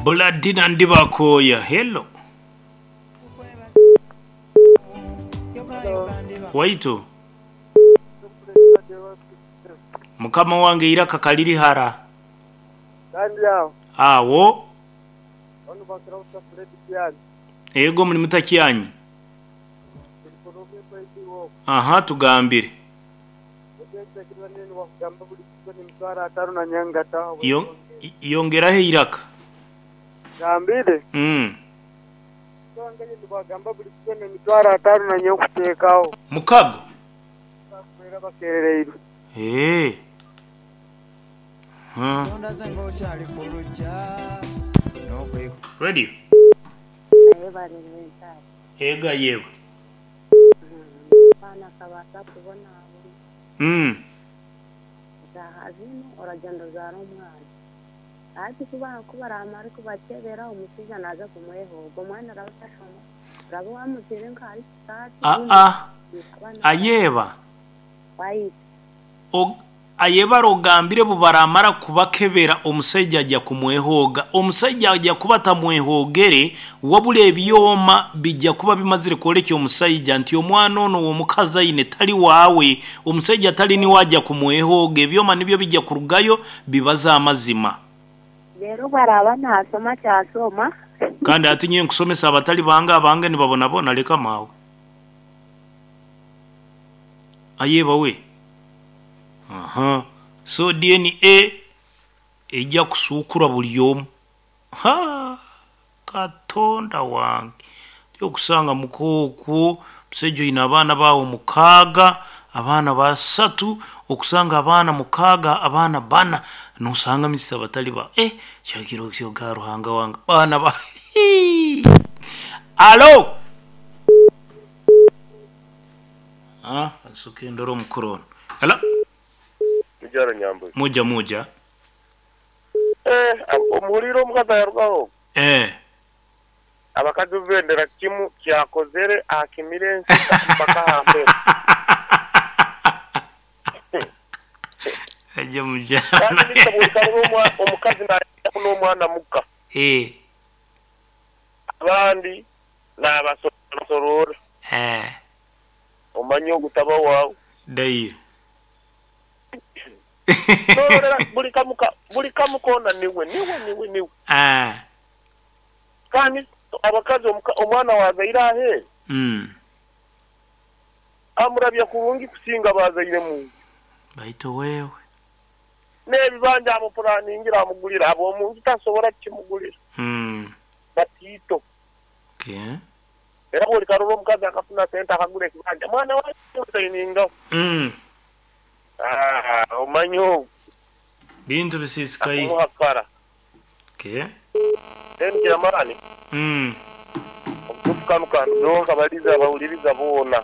Buladina Ndibakooya, Hello. Waitu. Mukama wange eiraka kaliri ghara. Agho. Ego muli mutakyanyi? Aha, tugambire. Yongeraho eiraka. Mukago? Eeh. Radio. Ega yewe. Mm. Aa, ayeeba. Aye ogambire bwebaramara kubakebera omusaija aja kumwehooga. Omusaija aja kuba atamwehoogere wabula ebyoma bija kuba bimazire kwolekya omusaija nti omwana ono owomukazi aine tali waawe. Omusaija tali niwe aja kumwehooga, ebyoma nibyo bija kurugayo bibaze amazima. Reero bw'araaba naashoma kyashoma. Kandi ati nyowe nkusomesa abatali bange, abange nibabonabona, leka maawe. Aye bawe. Aha. So DNA eija kusuukura buli omu. Ha! Katonda wange! Ti okusanga muka okwo, omusaija oine abaana bo agho mukaaga, abaana basatu, okusanga abaana mukaaga, abaana bana, nosanga Mister batali ba eh, kyakiro kyo ga Ruhanga wange, abaana ba hii! Alo! Ah, kansoke ndore omukuru ono. Hello? Mukyaro Nyambuzi. Muja muja. Eh, omuhuriire omukazi ayarugaho? Eh. Abakazi obu bendera kimu kyakozere akimire ensi mpaka aha mperu. Aje muja. Kandi Mister bwolikarora omukazi nayaku n'omwana muka. Eh. Abandi nabasorora. Eh. Omanye ogu taba waawe. Daire. N'ororera buli kamu ka, buli kamu koona niwe, niwe, niwe, niwe. Aah. Kandi abakazi omuka, omwana waazaire aheeru, amurabya kurungi kusinga abaazaire mu nju. Baitu wewe. N'ebibanja amupuraningira amugulira, ab'omu nju tasobora kukimugulira. Batiito. Okay. Era bw'olikarora omukazi akafuna sente akagura ekibanja, mwana wange osayiningaho. Aah, omanye ogwo. Bintu bisisikaire. Akumuha kara. Okay. Then kyamaani, obutuufu kanu kandugeho nkabaliza abahuliriza boona.